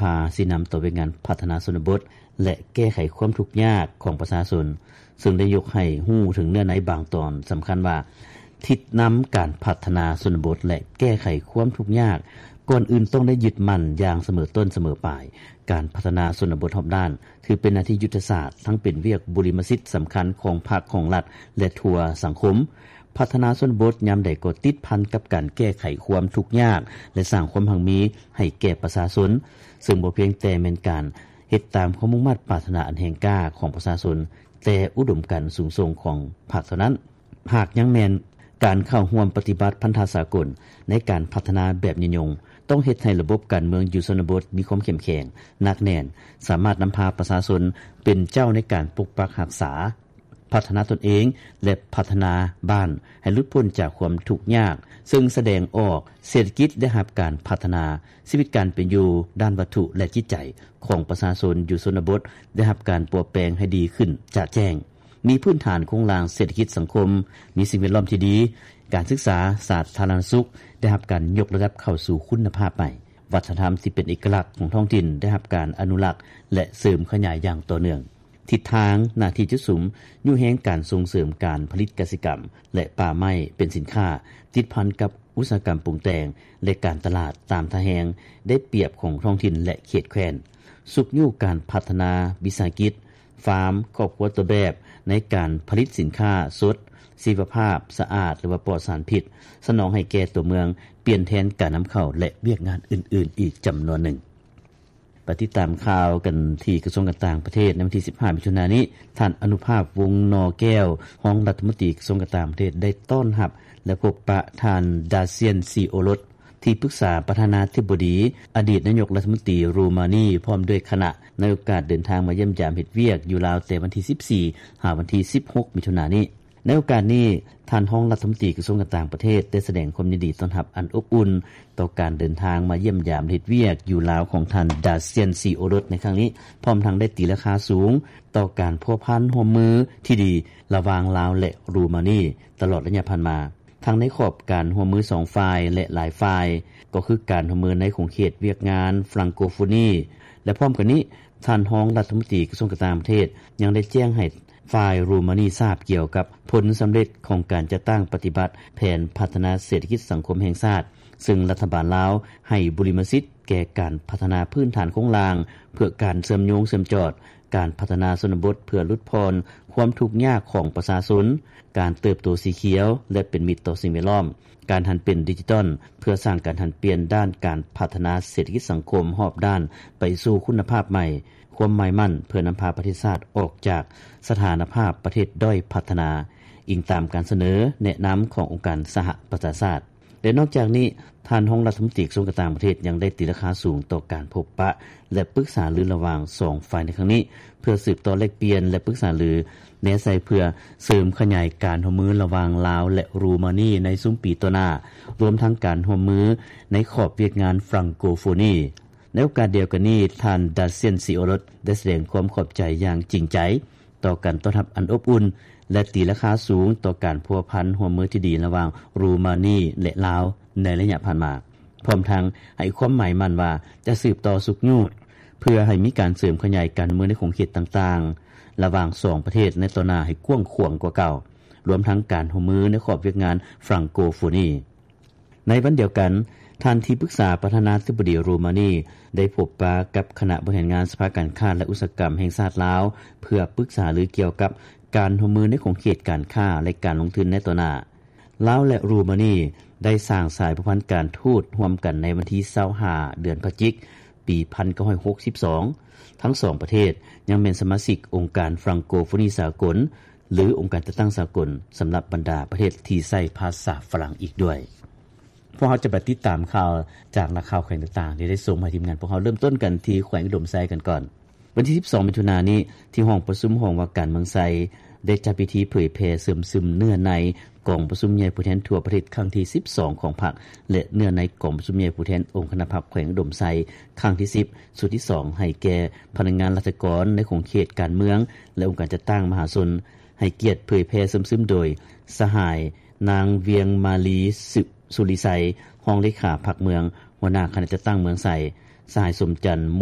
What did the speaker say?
ພາຊີ້ນຳຕໍ່ວຽກງານພັດທະນາຊົນນະບົດ ແລະ ແກ້ໄຂຄວາມທຸກຍາກຂອງປະຊາຊົນ, ເຊິ່ງໄດ້ຍົກໃຫ້ຮູ້ເຖິງເນື້ອໃນບາງຕອນສຳຄັນວ່າ ທິດນຳການພັດທະນາຊົນນະບົດ ແລະ ແກ້ໄຂຄວາມທຸກຍາກ ກ່ອນອື່ນຕ້ອງໄດ້ຍຶດໝັ້ນຢ່າງສະເໝີຕົ້ນສະເໝີປາຍ. ການພັດທະນາຊົນນະບົດຮອບດ້ານ ຖືເປັນໜ້າທີ່ຍຸດທະສາດ, ທັງເປັນວຽກບຸລິມະສິດສຳຄັນຂອງພັກ, ຂອງລັດ ແລະ ທົ່ວສັງຄົມ. ພັດທະນາຊົນນະບົດຍາມໃດກໍຕິດພັນກັບການແກ້ໄຂຄວາມທຸກຍາກ ແລະ ສ້າງຄວາມຮັ່ງມີໃຫ້ແກ່ປະຊາຊົນ, ເຊິ່ງບໍ່ພຽງແຕ່ແມ່ນການເຮັດຕາມຄວາມມຸ່ງມາດປາດຖະໜາອັນແຮງກ້າຂອງປະຊາຊົນ, ແຕ່ອຸດົມການສູງສົ່ງຂອງພັກເທົ່ານັ້ນ, ຫາກຍັງແມ່ນການເຂົ້າຮ່ວມປະຕິບັດພັນທະສາກົນໃນການພັດທະນາແບບຍືນຍົງ, ຕ້ອງເຮັດໃຫ້ລະບົບການເມືອງຢູ່ຊົນນະບົດມີຄວາມເຂັ້ມແຂງ, ໜັກແໜ້ນ, ສາມາດນຳພາປະຊາຊົນເປັນເຈົ້າໃນການປົກປັກຮັກສາ, ພັດທະນາຕົນເອງ ແລະ ພັດທະນາບ້ານໃຫ້ຫຼຸດພົ້ນຈາກຄວາມທຸກຍາກ, ເຊິ່ງສະແດງອອກເສດຖະກິດໄດ້ຮັບການພັດທະນາ, ຊີວິດການເປັນຢູ່ດ້ານວັດຖຸ ແລະ ຈິດໃຈຂອງປະຊາຊົນຢູ່ຊົນນະບົດໄດ້ຮັບການປົວແປງໃຫ້ດີຂຶ້ນຈະແຈ້ງ, ມີພື້ນຖານໂຄງລ່າງເສດຖະກິດສັງຄົມ, ມີສິ່ງແວດລ້ອມທີ່ດີ, ການສຶກສາສາທາລະນະສຸກໄດ້ຮັບການຍົກລະດັບເຂົ້າສູ່ຄຸນນະພາບໃໝ່, ວັດທະນະທຳທີ່ເປັນເອກະລັກຂອງທ້ອງຖິ່ນໄດ້ຮັບການອະນຸລັກ ແລະ ເສີມຂະຫຍາຍຢ່າງຕໍ່ເນື່ອງ. ທິດທາງ, ໜ້າທີ່ຈຸດສຸມ, ຍູ້ແຮງການສົ່ງເສີມການຜະລິດກະສິກຳ ແລະ ປ່າໄມ້ເປັນສິນຄ້າ, ຕິດພັນກັບອຸດສາຫະກຳປຸງແຕ່ງ ແລະ ການຕະຫຼາດຕາມທ່າແຮງໄດ້ປຽບຂອງທ້ອງຖິ່ນ ແລະ ເຂດແຄວ້ນ, ຊຸກຍູ້ການພັດທະນາວິສາຫະກິດ, ຟາມ, ຄອບຄົວຕົວແບບໃນການຜະລິດສິນຄ້າສົດ, ຊີວະພາບ, ສະອາດ ຫຼືວ່າປອດສານພິດ, ສະໜອງໃຫ້ແກ່ຕົວເມືອງ, ປ່ຽນແທນການນຳເຂົ້າ ແລະ ວຽກງານອື່ນໆອີກຈຳນວນໜຶ່ງ. ໄປຕິດຕາມຂ່າວກັນທີ່ກະຊວງການຕ່າງປະເທດ. ໃນວັນທີສິບຫ້າ ມິຖຸນານີ້, ທ່ານ ອະນຸພາບ ວົງນໍແກ້ວ, ຮອງລັດຖະມົນຕີກະຊວງການຕ່າງປະເທດ ໄດ້ຕ້ອນຮັບ ແລະ ພົບປະທ່ານ ດາຊຽນ ຊີໂອລົດ, ທີ່ປຶກສາປະທານາທິບໍດີ, ອະດີດນາຍົກລັດຖະມົນຕີໂຣມານີ ພ້ອມດ້ວຍຄະນະ, ໃນໂອກາດເດີນທາງມາຢ້ຽມຢາມເຮັດວຽກຢູ່ລາວແຕ່ວັນທີສິບສີ່ ຫາວັນທີສິບຫົກ ມິຖຸນານີ້. ໃນໂອກາດນີ້, ທ່ານຮອງລັດຖະມົນຕີກະຊວງການຕ່າງປະເທດ ໄດ້ສະແດງຄວາມຍິນດີຕ້ອນຮັບອັນອົບອຸ່ນ ຕໍ່ການເດີນທາງມາຢ້ຽມຢາມເຮັດວຽກຢູ່ລາວຂອງທ່ານ ດາຊຽນ ຊີໂອລົດ ໃນຄັ້ງນີ້, ພ້ອມທັງໄດ້ຕີລາຄາສູງຕໍ່ການພົວພັນຮ່ວມມືທີ່ດີລະຫວ່າງລາວ ແລະ ໂຣມານີ ຕະຫຼອດໄລຍະຜ່ານມາ, ທັງໃນຂອບການຮ່ວມມືສອງຝ່າຍ ແລະ ຫຼາຍຝ່າຍ, ກໍຄືການຮ່ວມມືໃນຂົງເຂດວຽກງານຟຣັງໂກໂຟນີ ແລະ ພ້ອມກັນນີ້, ທ່ານຮອງລັດຖະມົນຕີກະຊວງການຕ່າງປະເທດ ຍັງໄດ້ແຈ້ງໃຫ້ ຝ່າຍໂຣມານີຊາບກ່ຽວກັບຜົນສຳເລັດຂອງການຈັດຕັ້ງປະຕິບັດແຜນພັດທະນາເສດຖະກິດສັງຄົມແຫ່ງຊາດ, ເຊິ່ງລັດຖະບານລາວໃຫ້ບຸລິມະສິດແກ່ການພັດທະນາພື້ນຖານໂຄງລ່າງເພື່ອການເຊື່ອມໂຍງເຊື່ອມຈອດ, ການພັດທະນາຊົນນະບົດເພື່ອຫຼຸດຜ່ອນຄວາມທຸກຍາກຂອງປະຊາຊົນ, ການເຕີບໂຕສີຂຽວ ແລະ ເປັນມິດຕໍ່ສິ່ງແວດລ້ອມ, ການຫັນເປັນດິຈິຕອນ ເພື່ອສ້າງການຫັນປ່ຽນດ້ານການພັດທະນາເສດຖະກິດສັງຄົມຮອບດ້ານໄປສູ່ຄຸນນະພາບໃໝ່, ຄວາມໝາຍໝັ້ນເພື່ອນຳພາປະເທດຊາດອອກຈາກສະຖານະພາບປະເທດດ້ອຍພັດທະນາ, ອີງຕາມການສະເໜີແນະນຳຂອງອົງການສະຫະປະຊາຊາດ. ແລະ ນອກຈາກນີ້, ທ່ານຮອງລັດຖະມົນຕີກະຊວງການຕ່າງປະເທດຍັງໄດ້ຕີລາຄາສູງຕໍ່ການພົບປະ ແລະ ປຶກສາລືລະຫວ່າງສອງຝ່າຍໃນຄັ້ງນີ້, ເພື່ອສືບຕໍ່ແລກປ່ຽນ ແລະ ປຶກສາລືແນໃສ່ເພື່ອເສີມຂະຫຍາຍການຮ່ວມມືລະຫວ່າງລາວ ແລະ ໂຣມານີໃນຊຸມປີຕໍ່ໜ້າ, ລວມທັງການຮ່ວມມືໃນຂອບວຽກງານຟຣັງໂກໂຟນີ. ໃນໂອກາດດຽວກັນນີ້, ທ່ານ ດາຊຽນ ຊີໂອລົດ ໄດ້ສະແດງຄວາມຂອບໃຈຢ່າງຈິງໃຈຕໍ່ການຕ້ອນຮັບອັນອົບອຸ່ນ ແລະ ຕີລາຄາສູງຕໍ່ການພົວພັນຮ່ວມມືທີ່ດີລະຫວ່າງໂຣມານີ ແລະ ລາວໃນໄລຍະຜ່ານມາ, ພ້ອມທັງໃຫ້ຄວາມໝາຍໝັ້ນວ່າຈະສືບຕໍ່ຊຸກຍູ້ເພື່ອໃຫ້ມີການເສີມຂະຫຍາຍການຮ່ວມມືໃນຂົງເຂດຕ່າງໆລະຫວ່າງສອງປະເທດໃນຕໍ່ໜ້າໃຫ້ກວ້າງຂວາງກວ່າເກົ່າ, ລວມທັງການຮ່ວມມືໃນຂອບວຽກງານຟຣັງໂກໂຟນີ. ໃນວັນດຽວກັນ, ທ່ານທີ່ປຶກສາປະທານາທິບໍດີໂຣມານີ ໄດ້ພົບປະກັບຄະນະບໍລິຫານງານສະພາການຄ້າ ແລະ ອຸດສາຫະກຳແຫ່ງຊາດລາວ ເພື່ອປຶກສາຫາລືກ່ຽວກັບການຮ່ວມມືໃນຂົງເຂດການຄ້າ ແລະ ການລົງທຶນໃນຕໍ່ໜ້າ. ລາວ ແລະ ໂຣມານີ ໄດ້ສ້າງສາຍພົວພັນການທູດຮ່ວມກັນໃນວັນທີຊາວຫ້າ ເດືອນພະຈິກ ປີພັນເກົ້າຮ້ອຍຫົກສິບສອງ. ທັງສອງປະເທດຍັງແມ່ນສະມາຊິກອົງການຟຣັງໂກໂຟນີສາກົນ ຫຼື ອົງການຈັດຕັ້ງສາກົນສຳລັບບັນດາປະເທດທີ່ໃຊ້ພາສາຝຣັ່ງອີກດ້ວຍ. ພວກເຮົາຈະໄປຕິດຕາມຂ່າວຈາກນັກຂ່າວແຂວງຕ່າງໆ ທີ່ໄດ້ສົ່ງມາໃຫ້ທີມງານພວກເຮົາ. ເລີ່ມຕົ້ນກັນທີ່ແຂວງອຸດົມໄຊກັນກ່ອນ. ວັນທີສິບສອງ ມິຖຸນານີ້, ທີ່ຫ້ອງປະຊຸມຫ້ອງວ່າການເມືອງໄຊ ໄດ້ຈັດພິທີເຜີຍແຜ່ເຊື່ອມຊຶມເນື້ອໃນກອງປະຊຸມໃຫຍ່ຜູ້ແທນທົ່ວປະເທດຄັ້ງທີສິບສອງຂອງພັກ ແລະ ເນື້ອໃນກອງປະຊຸມໃຫຍ່ຜູ້ແທນອົງຄະນະພັກແຂວງອຸດົມໄຊ ຄັ້ງທີສິບ ຊຸດທີສອງ ໃຫ້ແກ່ພະນັກງານລັດຖະກອນໃນຂົງເຂດການເມືອງ ແລະ ອົງການຈັດຕັ້ງມະຫາຊົນ, ໃຫ້ກຽດເຜີຍແຜ່ເຊື່ອມຊຶມໂດຍ ສະຫາຍ ນາງ ວຽງມາລີ ສຸ ສຸລິໄຊ ຮອງເລຂາພັກເມືອງ, ຫົວໜ້າຄະນະຈັດຕັ້ງເມືອງໄຊ, ສະຫາຍ ສົມຈັນ ມູ